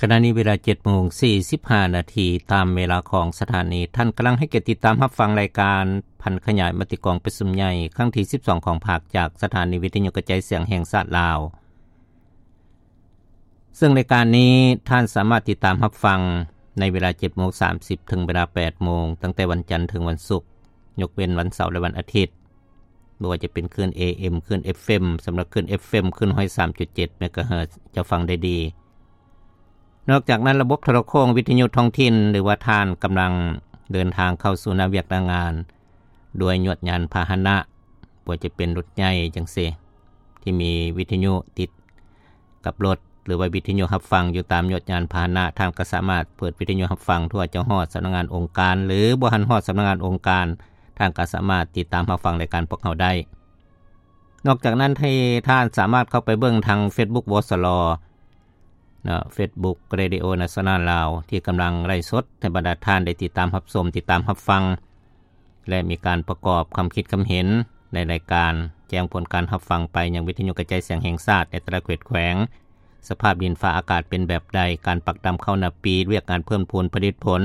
ຂະນະນີ້ເວລາ ເຈັດໂມງສີ່ສິບຫ້ານາທີ ຕາມເວລາຂອງສະຖານີ. ທ່ານກຳລັງໃຫ້ກຽດຕິດຕາມຮັບຟັງລາຍການຜັນຂະຫຍາຍມະຕິກອງປະຊຸມໃຫຍ່ຄັ້ງທີ ສິບສອງ ຂອງພັກ ຈາກສະຖານີວິທະຍຸກະຈາຍສຽງແຫ່ງຊາດລາວ. ເຊິ່ງລາຍການນີ້ທ່ານສາມາດຕິດຕາມຮັບຟັງໃນເວລາ ເຈັດໂມງສາມສິບ ເຖິງເວລາ ແປດໂມງ ຕັ້ງແຕ່ວັນຈັນເຖິງວັນສຸກ, ຍົກເວັ້ນວັນເສົາ ແລະ ວັນອາທິດ. ບໍ່ວ່າຈະເປັນຄື້ນ ເອເອັມ ຄື້ນ ເອັຟເອັມ ສຳລັບຄື້ນ ເອັຟເອັມ ຄື້ນ ໜຶ່ງຮ້ອຍສາມຈຸດເຈັດ ເມກາເຮີດ ຈະຟັງໄດ້ດີ. ນອກຈາກນັ້ນ, ລະບົບໂທລະໂຄ່ງວິທະຍຸທ້ອງຖິ່ນ ຫຼືວ່າທ່ານກຳລັງເດີນທາງເຂົ້າສູ່ໜ້າວຽກໜ້າງານ ດ້ວຍຍວດຍານພາຫະນະ, ບໍ່ວ່າຈະເປັນລົດໃຫຍ່ຈັ່ງຊີ້ ທີ່ມີວິທະຍຸຕິດ ກັບລົດ ຫຼືວ່າວິທະຍຸຮັບຟັງຢູ່ຕາມຍວດຍານພາຫະນະ, ທ່ານກໍສາມາດເປີດວິທະຍຸຮັບຟັງ ຖ້າເຈົ້າຮອດສຳນັກງານອົງການ ຫຼືບໍ່ທັນຮອດສຳນັກງານອົງການ, ທ່ານກໍສາມາດຕິດຕາມຮັບຟັງລາຍການພວກເຮົາໄດ້. ນອກຈາກນັ້ນ, ທ່ານສາມາດເຂົ້າໄປເບິ່ງທາງເຟສບຸກ ວສລ ເນາະ, Facebook Radio National ລາວ ທີ່ກຳລັງໄລຟ໌ສົດໃຫ້ບັນດາທ່ານໄດ້ຕິດຕາມຮັບຊົມ, ຕິດຕາມຮັບຟັງ ແລະ ມີການປະກອບຄຳຄິດຄຳເຫັນໃນລາຍການ, ແຈ້ງຜົນການຮັບຟັງໄປຍັງວິທະຍຸກະຈາຍສຽງແຫ່ງຊາດໃນແຕ່ລະເຂດແຂວງ, ສະພາບດິນຟ້າອາກາດເປັນແບບໃດ, ການປັກດຳເຂົ້ານາປີ, ວຽກງານເພີ່ມພູນຜະລິດຜົນ,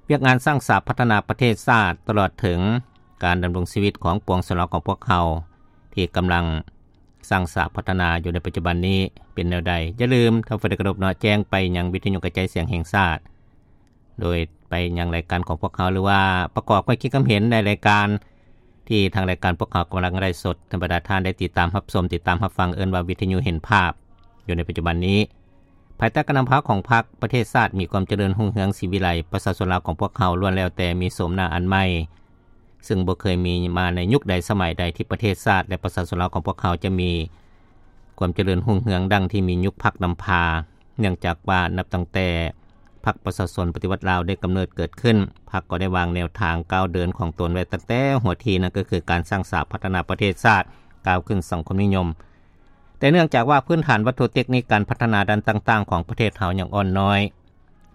ວຽກງານສ້າງສາພັດທະນາປະເທດຊາດ, ຕະຫຼອດເຖິງການດຳລົງຊີວິດຂອງປວງຊົນລາວຂອງພວກເຮົາ ທີ່ກຳລັງສ້າງສາພັດທະນາຢູ່ໃນປັດຈຸບັນນີ້ເປັນແນວໃດ. ຢ່າລືມ, ທ່ານຜູ້ໃດເຄົາລົບເນາະ, ແຈ້ງໄປຍັງວິທະຍຸກະຈາຍສຽງແຫ່ງຊາດ ໂດຍໄປຍັງລາຍການຂອງພວກເຮົາ ຫຼືວ່າປະກອບຄຳຄິດຄຳເຫັນໃນລາຍການທີ່ທາງລາຍການພວກເຮົາກຳລັງໄລຟ໌ສົດ ໃຫ້ບັນດາທ່ານໄດ້ຕິດຕາມຮັບຊົມ, ຕິດຕາມຮັບຟັງ, ເອີ້ນວ່າວິທະຍຸເຫັນພາບ ຢູ່ໃນປັດຈຸບັນນີ້. ພາຍໃຕ້ການນຳພາຂອງພັກ, ປະເທດຊາດມີຄວາມຈະເລີນຮຸ່ງເຮືອງສີວິໄລ, ປະຊາຊົນລາວຂອງພວກເຮົາລ້ວນແລ້ວແຕ່ມີໂສມໜ້າອັນໃໝ່ ເຊິ່ງບໍ່ເຄີຍມີມາໃນຍຸກໃດສະໄໝໃດທີ່ປະເທດຊາດ ແລະ ປະຊາຊົນລາວຂອງພວກເຮົາຈະມີຄວາມຈະເລີນຮຸ່ງເຮືອງດັ່ງທີ່ມີຍຸກພັກນຳພາ, ເນື່ອງຈາກວ່ານັບຕັ້ງແຕ່ພັກປະຊາຊົນປະຕິວັດລາວໄດ້ກຳເນີດເກີດຂຶ້ນ, ພັກກໍໄດ້ວາງແນວທາງກ້າວເດີນຂອງຕົນໄວ້ຕັ້ງແຕ່ຫົວທີ, ນັ້ນກໍຄືການສ້າງສາພັດທະນາປະເທດຊາດ, ກ້າວຂຶ້ນສັງຄົມນິຍົມ. ແຕ່ເນື່ອງຈາກວ່າພື້ນຖານວັດຖຸເຕັກນິກການພັດທະນາດ້ານຕ່າງໆຂອງປະເທດເຮົາຍັງອ່ອນນ້ອຍ,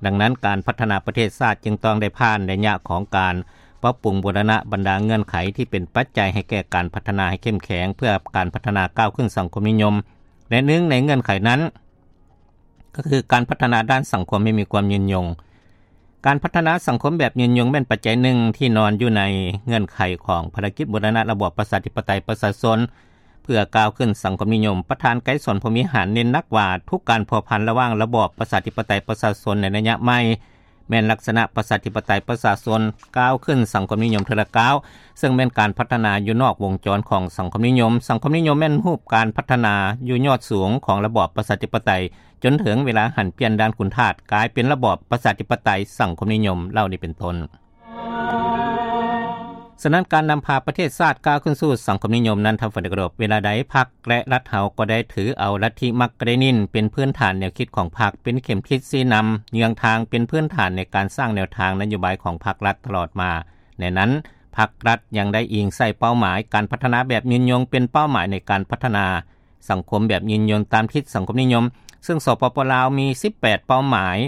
ດັ່ງນັ້ນ ການພັດທະນາປະເທດຊາດຈຶ່ງຕ້ອງໄດ້ຜ່ານໄລຍະຂອງການປັບປຸງບູລະນະບັນດາເງື່ອນໄຂທີ່ເປັນປັດໄຈໃຫ້ແກ່ການພັດທະນາໃຫ້ເຂັ້ມແຂງ ເພື່ອການພັດທະນາກ້າວຂຶ້ນສັງຄົມນິຍົມ ແລະ ໜຶ່ງໃນເງື່ອນໄຂນັ້ນ ກໍຄືການພັດທະນາດ້ານສັງຄົມໃຫ້ມີຄວາມຍືນຍົງ. ການພັດທະນາສັງຄົມແບບຍືນຍົງແມ່ນປັດໄຈໜຶ່ງທີ່ນອນຢູ່ໃນເງື່ອນໄຂຂອງພາລະກິດບູລະນະລະບອບປະຊາທິປະໄຕປະຊາຊົນ ເພື່ອກ້າວຂຶ້ນສັງຄົມນິຍົມ. ປະທານໄກສອນ ພົມວິຫານ ເນັ້ນໜັກວ່າທຸກການພົວພັນລະຫວ່າງລະບອບປະຊາທິປະໄຕປະຊາຊົນໃນໄລຍະໃໝ່ ແມ່ນລັກສະນະປະຊາທິປະໄຕປະຊາຊົນກ້າວຂຶ້ນສັງຄົມນິຍົມເທື່ອລະກ້າວ, ເຊິ່ງແມ່ນການພັດທະນາຢູ່ນອກວົງຈອນຂອງສັງຄົມນິຍົມ. ສັງຄົມນິຍົມແມ່ນຮູບການພັດທະນາຢູ່ຍອດສູງຂອງລະບອບປະຊາທິປະໄຕ, ຈົນເຖິງເວລາຫັນປ່ຽນດ່ານຂຸນທາດ ກາຍເປັນລະບອບປະຊາທິປະໄຕສັງຄົມນິຍົມ ເຫຼົ່ານີ້ເປັນຕົ້ນ. ສະນັ້ນ ການນຳພາປະເທດຊາດກ້າວຂຶ້ນສູ່ສັງຄົມນິຍົມນັ້ນ ທ່ານຜູ້ໃດເຄົາລົບ, ເວລາໃດພັກ ແລະ ລັດເຮົາກໍໄດ້ຖືເອົາລັດທິມາກເລນິນເປັນພື້ນຖານແນວຄິດຂອງພັກ, ເປັນເຂັມທິດຊີ້ນຳເຍືອງທາງ, ເປັນພື້ນຖານໃນການສ້າງແນວທາງນະໂຍບາຍຂອງພັກລັດຕະຫຼອດມາ. ໃນນັ້ນ ພັກລັດຍັງໄດ້ອີງໃສ່ເປົ້າໝາຍການພັດທະນາແບບຍືນຍົງເປັນເປົ້າໝາຍໃນການພັດທະນາສັງຄົມແບບຍືນຍົງຕາມທິດສັງຄົມນິຍົມ, ເຊິ່ງ ສປປ ລາວ ມີສິບແປດເປົ້າໝາຍ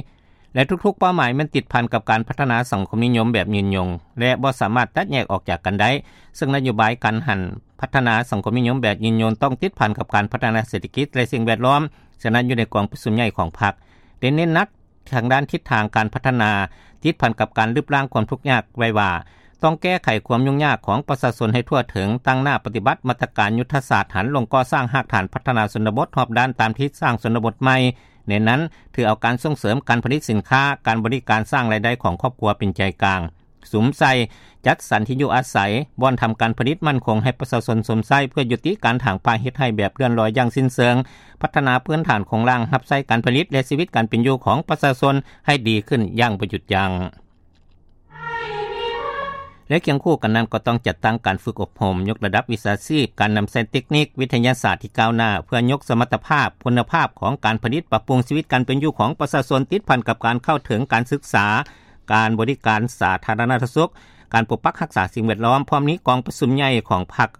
ແລະ ທຸກໆເປົ້າໝາຍແມ່ນຕິດພັນກັບການພັດທະນາສັງຄົມນິຍົມແບບຍືນຍົງ ແລະ ບໍ່ສາມາດແຕກແຍກອອກຈາກກັນໄດ້, ເຊິ່ງນະໂຍບາຍການຫັນພັດທະນາສັງຄົມນິຍົມແບບຍືນຍົງຕ້ອງຕິດພັນກັບການພັດທະນາເສດຖະກິດ ແລະ ສິ່ງແວດລ້ອມ. ສະນັ້ນ ຢູ່ໃນກອງປະຊຸມໃຫຍ່ຂອງພັກ ໄດ້ເນັ້ນໜັກທາງດ້ານທິດທາງການພັດທະນາ ຕິດພັນກັບການລຶບລ້າງຄວາມທຸກຍາກໄວ້ວ່າ ຕ້ອງແກ້ໄຂຄວາມຫຍຸ້ງຍາກຂອງປະຊາຊົນໃຫ້ທົ່ວເຖິງ, ຕັ້ງໜ້າປະຕິບັດມາດຕະການຍຸດທະສາດຫັນລົງກໍ່ສ້າງຮາກຖານພັດທະນາຊົນນະບົດຮອບດ້ານຕາມທິດສ້າງຊົນນະບົດໃໝ່. ໃນນັ້ນ ຖືເອົາການສົ່ງເສີມການຜະລິດສິນຄ້າ, ການບໍລິການ, ສ້າງລາຍໄດ້ຂອງຄອບຄົວເປັນໃຈກາງ, ສຸມໃສ່ຈັດສັນທີ່ຢູ່ອາໄສ, ບ່ອນທຳການຜະລິດໝັ້ນຄົງໃຫ້ປະຊາຊົນຊົມໃຊ້ ເພື່ອຍຸຕິການຖາງປ່າເຮັດໄຮ່ແບບເລື່ອນລອຍຢ່າງສິ້ນເຊີງ, ພັດທະນາພື້ນຖານໂຄງລ່າງຮັບໃຊ້ການຜະລິດ ແລະ ຊີວິດການເປັນຢູ່ຂອງປະຊາຊົນໃຫ້ດີຂຶ້ນຢ່າງບໍ່ຢຸດຢັ້ງ. ແລະ ຄຽງຄູ່ກັນນັ້ນກໍຕ້ອງຈັດຕັ້ງການຝຶກອົບຮົມ, ຍົກລະດັບວິຊາຊີບ, ການນຳໃຊ້ເຕັກນິກ, ວິທະຍາສາດທີ່ກ້າວໜ້າ ເພື່ອຍົກສະມັດຕະພາບ, ຄຸນນະພາບຂອງການຜະລິດ, ປັບປຸງຊີວິດການເປັນຢູ່ຂອງປະຊາຊົນ, ຕິດພັນກັບການເຂົ້າເຖິງການສຶກສາ, ການບໍລິການສາທາລະນະສຸກ, ການປົກປັກຮັກສາສິ່ງແວດລ້ອມ. ພ້ອມນີ້ ກອງປະຊຸມໃຫຍ່ຂອງພັກ